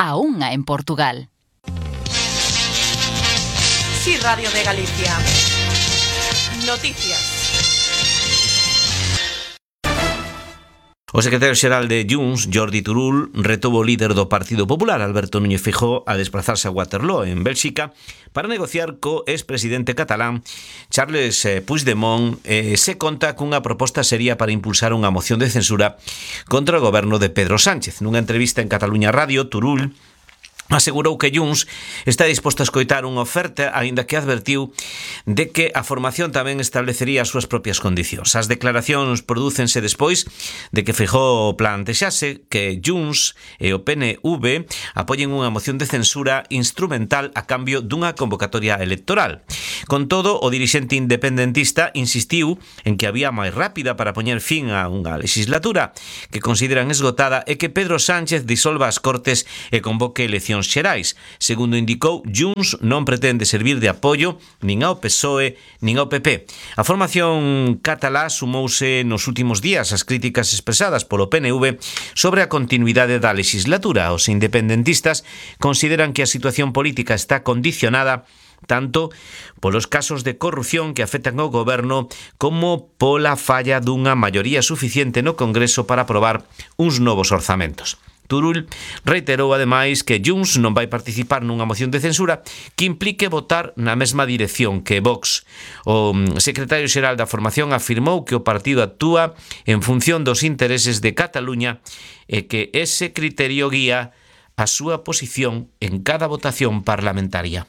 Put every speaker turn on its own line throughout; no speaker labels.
a 1 en Portugal.
Sí, Radio de Galicia. Noticias.
O secretario xeral de Junts, Jordi Turull, retou o líder do Partido Popular, Alberto Núñez Feijóo, a desplazarse a Waterloo, en Bélxica, para negociar co expresidente catalán Charles Puigdemont. Se conta cunha proposta seria para impulsar unha moción de censura contra o goberno de Pedro Sánchez. Nunha entrevista en Cataluña Radio, Turull asegurou que Junts está disposto a escoitar unha oferta, aínda que advertiu de que a formación tamén establecería as súas propias condicións. As declaracións prodúcense despois de que Feijóo plantexase que Junts e o PNV apoien unha moción de censura instrumental a cambio dunha convocatoria electoral. Con todo, o dirixente independentista insistiu en que a vía máis rápida para poñer fin a unha legislatura que consideran esgotada é que Pedro Sánchez disolva as Cortes e convoque eleccións xerais. Segundo indicou, Junts non pretende servir de apoio nin ao PSOE nin ao PP. A formación catalá sumouse nos últimos días ás críticas expresadas polo PNV sobre a continuidade da legislatura. Os independentistas consideran que a situación política está condicionada tanto polos casos de corrupción que afectan ao goberno como pola falla dunha maioría suficiente no Congreso para aprobar uns novos orzamentos. Turull reiterou ademais que Junts non vai participar nunha moción de censura que implique votar na mesma dirección que Vox. O secretario xeral da formación afirmou que o partido actúa en función dos intereses de Cataluña e que ese criterio guía a súa posición en cada votación parlamentaria.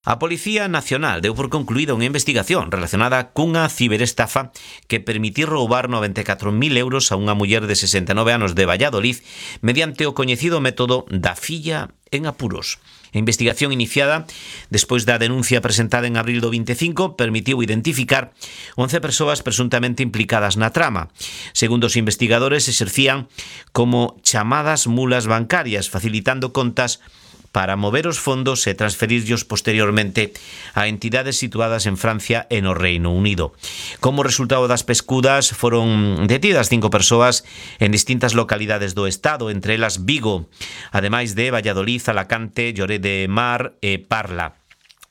A Policía Nacional deu por concluída unha investigación relacionada cunha ciberestafa que permitiu roubar 94.000 euros a unha muller de 69 anos de Valladolid mediante o coñecido método da filla en apuros. A investigación iniciada despois da denuncia presentada en abril do 25 permitiu identificar 11 persoas presuntamente implicadas na trama. Segundo os investigadores, exercían como chamadas mulas bancarias, facilitando contas para mover os fondos e transferirlos posteriormente a entidades situadas en Francia e no Reino Unido. Como resultado das pescudas, foron detidas 5 persoas en distintas localidades do Estado, entre elas Vigo, ademais de Valladolid, Alacante, Lloret de Mar e Parla.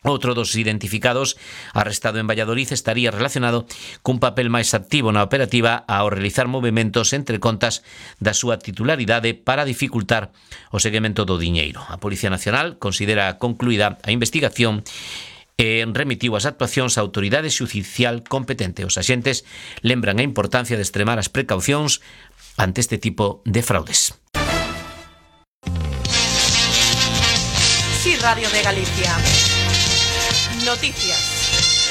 Outro dos identificados, arrestado en Valladolid, estaría relacionado cun papel máis activo na operativa ao realizar movementos entre contas da súa titularidade para dificultar o seguimento do diñeiro. A Policía Nacional considera concluída a investigación e remitiu as actuacións á autoridade xudicial competente. Os axentes lembran a importancia de extremar as precaucións ante este tipo de fraudes.
Sí, Radio de Galicia. Noticias.